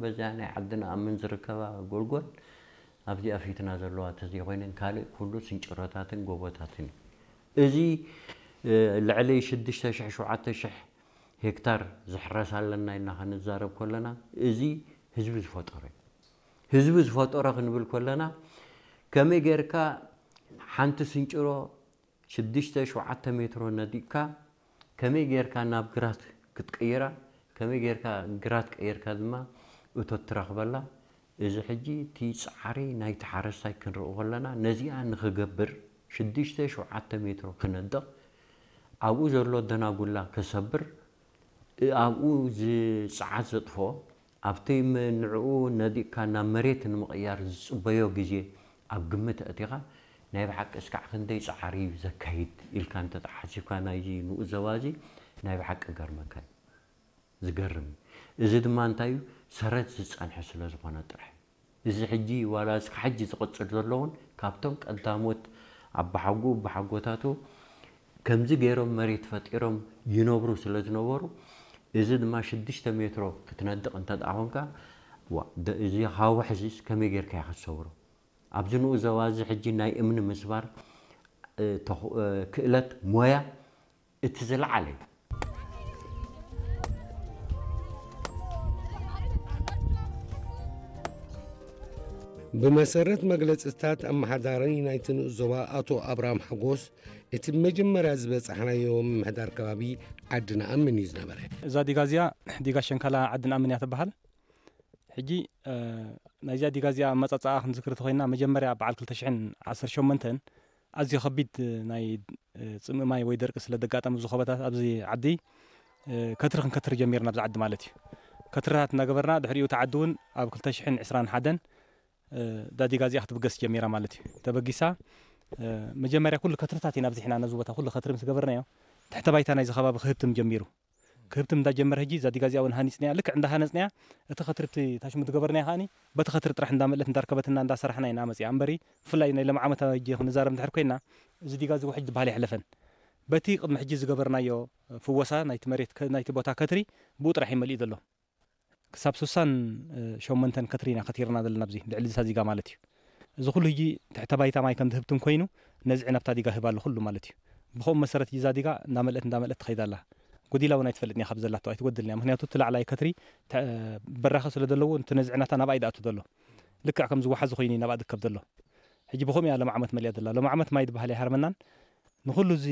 በዚኣ ናይ ዓዲ ንኣምን ዝርከባ ጎልጎል ኣብዚኣ ፊትና ዘለዋ ተዘይኮይነን ካልእ ኩሉ ስንጭሮታትን ጎቦታትን እዩ። እዚ ልዕሊ ሽዱሽተ ሽሕ ሸውዓተ ሽሕ ሄክታር ዝሕረስ ኣለና ኢልና ክንዛረብ ከለና፣ እዚ ህዝቢ ዝፈጠሮ እዩ። ህዝቢ ዝፈጠሮ ክንብል ከለና፣ ከመይ ጌርካ ሓንቲ ስንጭሮ ሽዱሽተ ሸውዓተ ሜትሮ ነዲቕካ ከመይ ጌርካ ናብ ግራት ክትቅይራ፣ ከመይ ጌርካ ግራት ቀይርካ ድማ እቶት ትረኽበላ። እዚ ሕጂ እቲ ጻዕሪ ናይቲ ሓረስታይ ክንርኢ ከለና፣ ነዚኣ ንኽገብር ሽዱሽተ ሸውዓተ ሜትሮ ክነድቕ፣ ኣብኡ ዘሎ ደናጉላ ክሰብር፣ ኣብኡ ዝጸዓት ዘጥፍኦ፣ ኣብቲ ም-፣ ንዕኡ ነዲቕካ ናብ መሬት ንምቕያር ዝጽበዮ ግዜ ኣብ ግምት ኣእቲኻ፣ ናይ ብሓቂ እስካዕ ክንደይ ጻዕሪ እዩ ዘካይድ ኢልካ እንተ ተሓሲብካ፣ ናይዚ ንኡስ ዞባ እዚ ናይ ብሓቂ ገርመካ እዩ። ዝገርም እዩ። እዚ ድማ እንታይ እዩ? ሰረት ዝጸንሐ ስለ ዝኾነ ጥራሕ። እዚ ሕጂ ዋላ እስከ ሕጂ ዝቕጽል ዘሎ እውን ካብቶም ቀዳሞት ኣባሓጎ ኣባሓጎታቱ ከምዚ ገይሮም መሬት ፈጢሮም ይነብሩ ስለ ዝነበሩ፣ እዚ ድማ ሽዱሽተ ሜትሮ ክትነድቕ እንተ ደኣ ኾንካ፣ ዋ፣ ደ-፣ እዚ ሃዋሕ እዚስ ከመይ ጌርካ ኢኻ ትሰብሮ? ኣብዚ ንኡስ ዞባ እዚ ሕጂ ናይ እምኒ ምስባር፣ እ፣ ተኽ-፣ እ፣ ክእለት ሞያ እቲ ዝለዓለ እዩ። ብመሰረት መግለጽታት ኣመሓዳሪ ናይቲ ንኡስ ዞባ ኣቶ ኣብርሃም ሓጎስ፣ እቲ መጀመርያ ዝበጻሕናዮ ምምሕዳር ከባቢ ዓዲ ንኣምን እዩ ዝነበረ። እዛ ዲጋ እዚኣ ዲጋ ሸንካላ ዓዲ ንኣምን እያ ትበሃል። ሕጂ፣ እ፣ ናይዚኣ ዲጋ እዚኣ ኣመጻጽኣ ክንዝክር እንተኾይንና፣ መጀመርያ በዓል ክልተ ሽሕን ዓሰርተ ሸሞንተን ኣዝዩ ከቢድ ናይ፣ እ፣ ጽምኢ ማይ ወይ ደርቂ ስለ ዘጋጠመ ኣብዚ ኸባታት፣ ኣብዚ ዓዲ፣ እ፣ ከትሪ ክንከትር ጀሚርና፣ ኣብዚ ዓዲ ማለት እዩ። ከትርታት እናገበርና፣ ድሕሪኡ እቲ ዓዲ እውን ኣብ ክልተ ሽሕን ዕስራን ሓደን፣ እ፣ እዛ ዲጋ እዚኣ ክትብገስ ጀሚራ ማለት እዩ። ተበጊሳ፣ እ፣ መጀመርያ ኩሉ ከትርታት ኢና ኣብዚሕና፣ ነዚ ቦታ ኩሉ ከትሪ ምስ ገበርናዮ፣ ትሕተ ባይታ ናይዚ ከባቢ ክህብትም ጀሚሩ። ክህብትም እንዳጀመረ፣ ሕጂ እዛ ዲጋ እዚኣ እውን ሃኒጽናያ። ልክዕ እንዳሃነጽናያ፣ እቲ ከትሪ፣ እቲ ታሽሙ ዝገበርናዮ ከኣኒ፣ በቲ ከትሪ ጥራሕ እንዳመልእት እንዳርከበትና እንዳሰራሕና ኢና መጺኣ። እምበሪ፣ ብፍላይ ናይ ሎም ዓመት ኣበጀ ክንዛረብ እንድሕር ኮይና፣ እዚ ዲጋ እዚ ውሕጅ ዝበሃል ኣይሕለፈን። በቲ ቅድሚ ሕጂ ዝገበርናዮ ፍወሳ ናይቲ መሬት ከ-፣ ናይቲ ቦታ ከትሪ፣ ብኡ ጥራሕ እዩ መሊኡ ዘሎ። ክሳብ ስሳን ሸሞንተን ከትሪ ኢና ከቲርና ዘለና ኣብዚ ልዕሊ እዛ ዲጋ ማለት እዩ። እዚ ኩሉ ሕጂ ትሕተ ባይታ ማይ ከም ዝህብትም ኮይኑ ነዚ ዕናብታ ዲጋ ህብ ኣሎ ኩሉ ማለት እዩ። ብኸምኡ መሰረት እዛ ዲጋ እንዳመልአት እንዳመልአት ትኸይድ ኣላ። ጎዲላ እውን ኣይትፈልጥን እያ ካብ ዘላቶ ኣይትጎድልን እያ። ምኽንያቱ እቲ ላዕላይ ከትሪ ተ-፣ በራኸ ስለ ዘለዎ እቲ ነዚ ዕናታ ናብኣ እዩ ዝኣቱ ዘሎ። ልክዕ ከም ዝወሓዚ ኮይኑ እዩ ናብኣ ዝከብ ዘሎ። ሕጂ ብኸምኡ እያ ሎም ዓመት መሊኣ ዘላ። ሎም ዓመት ማይ ዝበሃል ኣይሃርመናን። ንኹሉ እዚ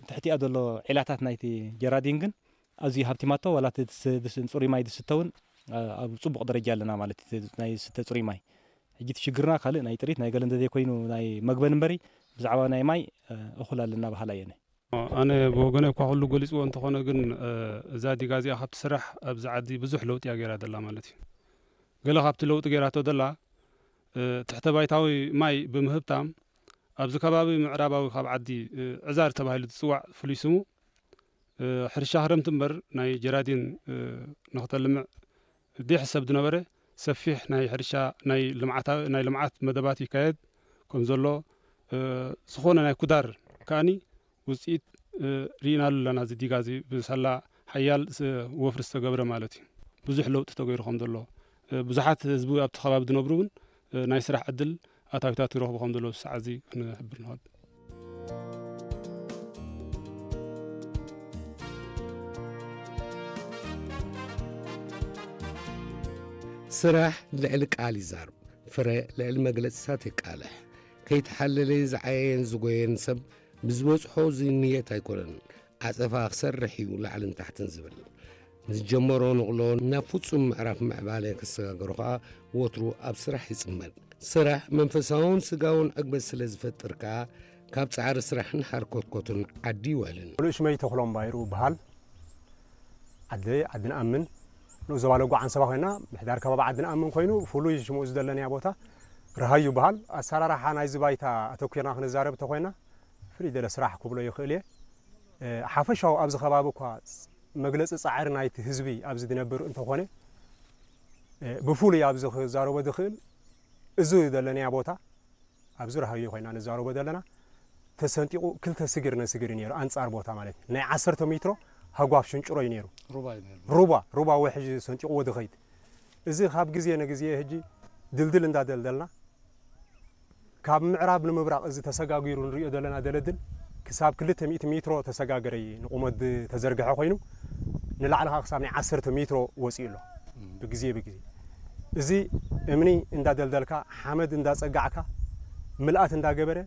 ትሕቲኣ ዘሎ ዒላታት ናይቲ ጀራዲን ግን ኣዝዩ ሃብቲማቶ፣ ዋላ እቲ ዝስ-፣ ዝስ-፣ ጽሩይ ማይ ዝስተ እውን፣ ኣ-፣ ኣብ ጽቡቕ ደረጃ ኣለና ማለት እዩ፣ እቲ ናይ ዝስተ ጽሩይ ማይ። ሕጂ እቲ ሽግርና ካልእ ናይ ጥሪት ናይ ገለ እንተዘይኮይኑ ናይ መግበን እምበሪ፣ ብዛዕባ ናይ ማይ፣ እ፣ እኹል ኣለና በሃላይ እየ ኣነ። ኣነ ብወገነይ እኳ ኩሉ ገሊጽዎ እንተኾነ ግን፣ እ፣ እዛ ዲጋ እዚኣ ካብ ትስራሕ ኣብዚ ዓዲ ብዙሕ ለውጢ እያ ገይራ ዘላ ማለት እዩ። ገለ ካብቲ ለውጢ ገይራቶ ዘላ፣ እ፣ ትሕተ ባይታዊ ማይ ብምህብታም ኣብዚ ከባቢ ምዕራባዊ ካብ ዓዲ፣ እ፣ ዕዛር ተባሂሉ ዝጽዋዕ ፍሉይ ስሙ፣ እ፣ ሕርሻ ክረምቲ እምበር ናይ ጀራዲን፣ እ፣ ንኽተልምዕ ዘይሕሰብ ዝነበረ ሰፊሕ ናይ ሕርሻ ናይ ልምዓታ-፣ ናይ ልምዓት መደባት ይካየድ ከም ዘሎ፣ እ፣ ዝኾነ ናይ ኩዳር ከኣኒ ውጽኢት፣ እ፣ ርኢናሉ ኣለና። እዚ ዲጋ እዚ ብሳላ ሓያል ስ-፣ ወፍሪ ዝተገብረ ማለት እዩ። ብዙሕ ለውጢ ተገይሩ ከም ዘሎ፣ እ፣ ብዙሓት ህዝቢ ኣብቲ ከባቢ ዝነብሩ እውን፣ እ፣ ናይ ስራሕ ዕድል ኣታዊታት ይረኽቡ ከም ዘለዉ ሰዓት እዚ ክንሕብር ንኽእል። ስራሕ ልዕሊ ቃል ይዛረብ፣ ፍረ ልዕሊ መግለጽታት የቃልሕ። ከይተሓለለ ዝዓየየን ዝጎየን ሰብ ብዝበጽሖ ዝንየት ኣይኮነን፣ ዓጸፋ ክሰርሕ እዩ ላዕልን ታሕትን ዝብል። ንዝጀመሮ ንቕሎ ናብ ፍጹም ምዕራፍ ምዕባለ ክሰጋገሮ ኸኣ ወትሩ ኣብ ስራሕ ይጽመድ። ስራሕ መንፈሳውን ስጋውን ዕግበት ስለ ዝፈጥር ከኣ ካብ ጻዕሪ ስራሕን ሓርኮትኮትን ዓዲ ይውዕልን። ሙሉእ ሽመይ ተኽሎም ባይሩ በሃል። ዓዲ፣ ዓዲ ንኣምን። ንኡስ ዞባ ለጎ ዓንሰባ ኮይና፣ ምሕዳር ከባቢ ዓዲ ንኣምን ኮይኑ፣ ፍሉይ ሽሙ እዚ ዘለናያ ቦታ ርሃዩ በሃል። ኣሰራርሓ ናይዚ ባይታ ኣተኲርና ክንዛረብ እንተኾይና፣ ፍልይ ዝበለ ስራሕ ክብሎ ይኽእል እየ። እ፣ ሓፈሻዊ ኣብዚ ከባቢ እኳ መግለጺ ጻዕሪ ናይቲ ህዝቢ ኣብዚ ዝነብር እንተኾነ፣ እ፣ ብፍሉይ ኣብዚ ክዛረቦ ዝኽእል እዚ ዘለናያ ቦታ ኣብዚ ራሃዮ ኮይና ንዛረቦ ዘለና፣ ተሰንጢቑ ክልተ ስግር ነስግር እዩ ነይሩ፣ ኣንጻር ቦታ ማለት እዩ። ናይ ዓሰርተ ሜትሮ ሃጓፍ ሽንጭሮ እዩ ነይሩ። ሩባ እዩ ነይሩ። ሩባ፣ ሩባ ውሕጅ ሰንጢቑዎ ዝኸይድ። እዚ ካብ ግዜ ንግዜ ሕጂ ድልድል እንዳደልደልና፣ ካብ ምዕራብ ንምብራቕ እዚ ተሰጋጊሩ ንሪኦ ዘለና ደለድል ክሳብ ክልተ ሚእቲ ሜትሮ ተሰጋገረ እዩ ንቑመት ተዘርግሐ ኮይኑ፣ ንላዕሊ ከዓ ክሳብ ናይ ዓሰርተ ሜትሮ ወፂኡ ኣሎ። ብግዜ ብግዜ እዚ እምኒ እንዳደልደልካ፣ ሓመድ እንዳፀጋዕካ፣ ምልኣት እንዳገበረ፣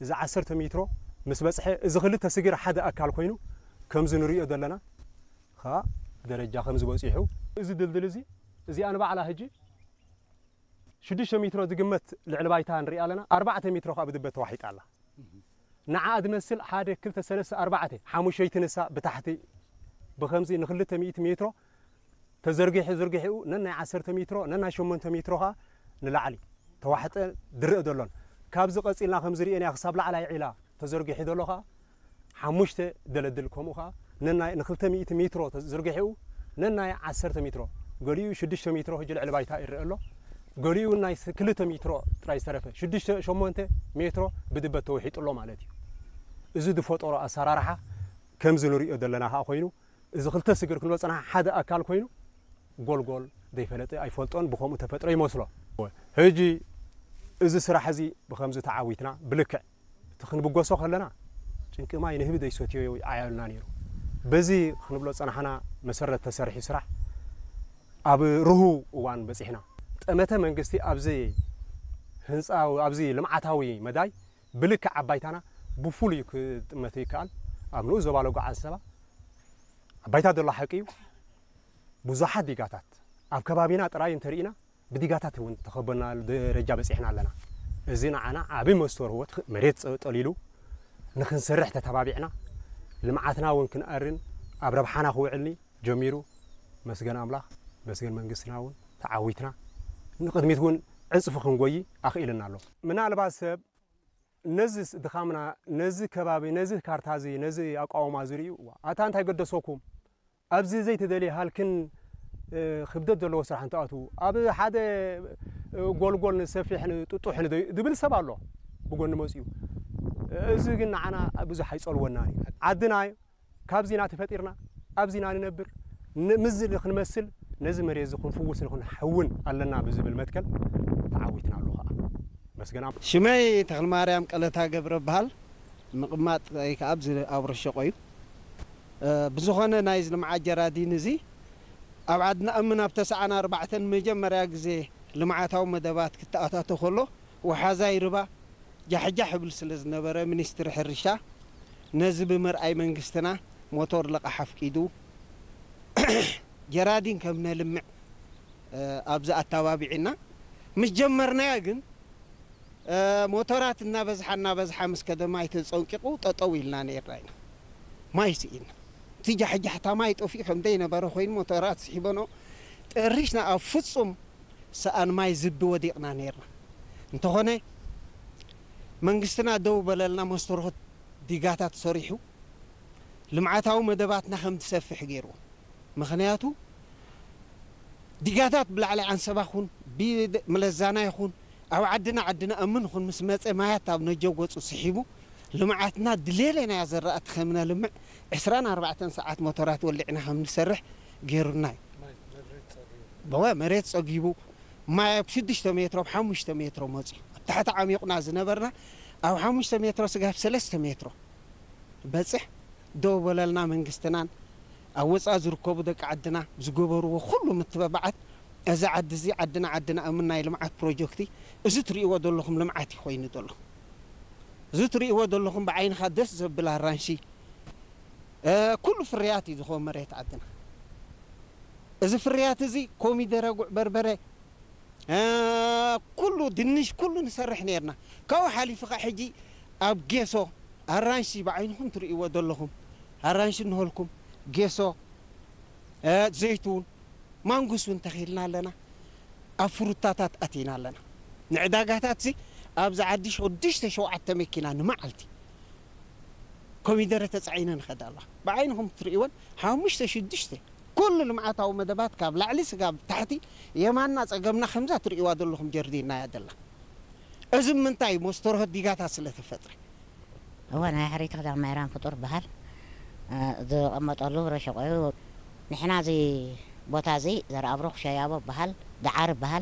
እዚ ዓሰርተ ሜትሮ ምስ በፅሐ፣ እዚ ክልተ ስግር ሓደ ኣካል ኮይኑ ከምዚ ንሪኦ ዘለና ከዓ ደረጃ ከምዚ በፂሑ፣ እዚ ድልድል እዚ፣ እዚኣ ንባዕላ ሕጂ ሽዱሽተ ሜትሮ ዝግመት ልዕሊ ባይታ ንሪኣ ኣለና። ኣርባዕተ ሜትሮ ከዓ ብድበት ተዋሒጣ ኣላ። ንዓኣ ዝመስል ሓደ፣ ክልተ፣ ሰለስተ፣ ኣርባዕተ፣ ሓሙሸይቲ ንሳ ብታሕቲ ብኸምዚ ንክልተ ሚእቲ ሜትሮ ተዘርጊሑ፣ ዝርግሒኡ ነናይ ዓሰርተ ሜትሮ፣ ነናይ ሸሞንተ ሜትሮ ከዓ ንላዕሊ ተዋሕጠ ዝረአ ዘሎን፣ ካብዚ ቀፂልና ከምዚ ርኤናዮ ክሳብ ላዕላይ ዒላ ተዘርጊሑ ዘሎ ከዓ ሓሙሽተ ደለድል፣ ከምኡ ከዓ ነናይ ንክልተ ሚእቲ ሜትሮ ተዘርጊሑ፣ ነናይ ዓሰርተ ሜትሮ፣ ገሊኡ ሽዱሽተ ሜትሮ ሕጂ ልዕሊ ባይታ ይረአ ኣሎ። ገሊኡ ናይ ስ-፣ ክልተ ሜትሮ ጥራይ ዝተረፈ፣ ሽዱሽተ ሸሞንተ ሜትሮ ብድበት ተውሒጡ ኣሎ ማለት እዩ። እዚ ዝፈጠሮ ኣሰራርሓ ከምዚ ንሪኦ ዘለና ከዓ ኮይኑ፣ እዚ ክልተ ስግር ክንብል ዝፀናሕና ሓደ ኣካል ኮይኑ፣ ጎልጎል ዘይፈለጠ ኣይፈልጦን፣ ብኸምኡ ተፈጥሮ ይመስሎ። ሕጂ እዚ ስራሕ እዚ ብኸምዚ ተዓዊትና ብልክዕ እቲ ክንብገሶ ከለና ጭንቂ ማይ ንህቢ ዘይሰትዮ ይዓያልና ነይሩ። በዚ ክንብሎ ዝፀናሕና መሰረት ተሰሪሑ ስራሕ ኣብ ርሁው እዋን በፂሕና። ጠመተ መንግስቲ ኣብዚ ህንፃ፣ ኣብዚ ልምዓታዊ መዳይ ብልክዕ ኣብ ባይታና ብፍሉይ ክጥመት ይከኣል። ኣብ ንኡስ ዞባ ለጎ ዓንሰባ ኣብ ባይታ ዘሎ ሓቂ እዩ። ብዙሓት ዲጋታት ኣብ ከባቢና ጥራይ እንተርኢና ብዲጋታት እውን ተኸበና ደረጃ በፂሕና ኣለና። እዚ ንዓና ዓቢ መስተርሆት፣ መሬት ፀ-፣ ጠሊሉ ንክንሰርሕ ተተባቢዕና፣ ልምዓትና እውን ክንኣርን ኣብ ረብሓና ክውዕልኒ ጀሚሩ። መስገን ኣምላኽ፣ መስገን መንግስትና እውን ተዓዊትና ንቕድሚት እውን ዕፅፊ ክንጎይ ኣኽኢልና ኣሎ። ምናልባት ሰብ ነዚ ስ-፣ ድኻምና፣ ነዚ ከባቢ፣ ነዚ ካርታ እዚ፣ ነዚ ኣቃውማ እዚ ርእዩ፣ "እዋ፣ ኣታ እንታይ ገደሰኩም? ኣብዚ ዘይተደልየ ሃልክን፣ እ፣ ክብደት ዘለዎ ስራሕ እንትኣትዉ፣ ኣብ ሓደ፣ እ፣ ጎልጎል ንሰፊሕ ንጥጡሕ ንደዩ" ዝብል ሰብ ኣሎ ብጎኒ መፅዩ። እዚ ግን ንዓና ብዙሕ ኣይፀልወናን እዩ። ዓድና ካብዚ ኢና ተፈጢርና፣ ኣብዚ ኢና ንነብር። ን-፣ ምስዚ ክንመስል፣ ነዚ መሬት እዚ ክንፍውስ ንኽንሕውን ኣለና ብዝብል መትከል ተዓዊትና ኣሎ ኸዓ። መስገን ኣምላኽ። ሽመይ ተኽለማርያም ቀለታ ገብረ እበሃል። ምቕማጥ ወይ ከዓ ኣብዚ ኣብ ረሸቆ እዩ። እ፣ ብዝኾነ ናይዚ ልምዓት ጀራዲን እዚ ኣብ ዓድና እምን ኣብ ተስዓን ኣርባዕተን መጀመርያ ግዜ ልምዓታዊ መደባት ክተኣታቶ ከሎ፣ ወሓዛይ ርባ ጃሕጃሕ ይብል ስለ ዝነበረ፣ ሚኒስትሪ ሕርሻ ነዚ ብምርኣይ መንግስትና ሞቶር ልቓሕ ኣፍቂዱ ጀራዲን ከም ነልምዕ፣ እ፣ ኣብዚ ኣተባቢዕና ምስ ጀመርናዮ ግን፣ እ፣ ሞቶራት እናበዝሓ እናበዝሓ ምስ ከደ ማይ ተጸንቂቑ ጠጠው ኢልና ነይርና ኢና። ማይ ስኢና። እቲ ጃሕጃሕታ ማይ ጠፊኡ ከም ዘይነበረ ኮይኑ ሞቶራት ስሒበኖ ጠሪሽና ኣብ ፍጹም ሰኣን ማይ ዝቢ ወዲቕና ነይርና። እንተኾነ መንግስትና ደው በለልና፣ መስተርሆት ዲጋታት ሰሪሑ ልምዓታዊ መደባትና ከም ትሰፍሕ ገይርዎ። ምኽንያቱ ዲጋታት ብላዕሊ ዓንሰባ ኹን፣ ብመለዛና ይኹን፣ ኣብ ዓድና፣ ዓድና እምን ኹን ምስ መጸ ማያት ኣብ ነጀው ገጹ ስሒቡ ልምዓትና ድሌለናያ ዘራእቲ ከም ነልምዕ ዕስራን ኣርባዕተን ሰዓት ሞቶራት ወሊዕና ከም ንሰርሕ ገይሩና እዩ። በወ መሬት ጸጊቡ ማይ ኣብ ሽዱሽተ ሜትሮ፣ ኣብ ሓሙሽተ ሜትሮ መጽዩ። ኣብ ታሕቲ ዓሚቑና ዝነበርና ኣብ ሓሙሽተ ሜትሮ ስጋብ ሰለስተ ሜትሮ በጽሕ። ደው በለልና መንግስትናን ኣብ ወጻኢ ዝርከቡ ደቂ ዓድና ዝገበርዎ ኩሉ ምትበባዓት እዚ ዓዲ እዚ ዓድና ዓድና እምን ናይ ልምዓት ፕሮጀክቲ እዚ ትርእይዎ ዘለኹም ልምዓት እዩ ኮይኑ ዘሎ። እዚ ትርእይዎ ዘለኹም ብዓይንኻ ደስ ዘብል ኣራንሺ፣ እ፣ ኩሉ ፍርያት እዩ ዝኸውን መሬት ዓድና። እዚ ፍርያት እዚ ኮሚደረ፣ ጉዕ በርበረ፣ እ፣ ኩሉ ድንሽ፣ ኩሉ ንሰርሕ ነይርና። ካብኡ ሓሊፉ ኸዓ ሕጂ ኣብ ጌሶ ኣራንሺ ብዓይንኹም ትርእይዎ ዘለኹም ኣራንሺ እንሆልኩም ጌሶ፣ እ፣ ዘይቱን ማንጉስ እውን ተኺልና ኣለና። ኣብ ፍሩታታት ኣቲና ኣለና። ንዕዳጋታት እዚ ኣብዚ ዓዲ ሽዱሽተ ሸውዓተ መኪና ንመዓልቲ ኮሚደረ ተጻዒነ ንኸዳ ኣለዋ። ብዓይንኹም ትርእይወን ሓሙሽተ ሽዱሽተ ኩሉ ልምዓታዊ መደባት ካብ ላዕሊ ስጋብ ታሕቲ የማንና ጸገምና ከምዛ ትርእይዋ ዘለኹም ጀርዲንና እያ ዘላ። እዚ ምንታይ መስተርሆት ዲጋታት ስለ ተፈጥረ። እወ፣ ናይ ሕርይቲ ክዳን ማይራን ፍጡር በሃል፣ እ፣ ዝቐመጠሉ ረሸቆ እዩ። ንሕና እዚ ቦታ እዚ ዘርኣብሩኽ ሸያቦ በሃል፣ ደዓር በሃል፣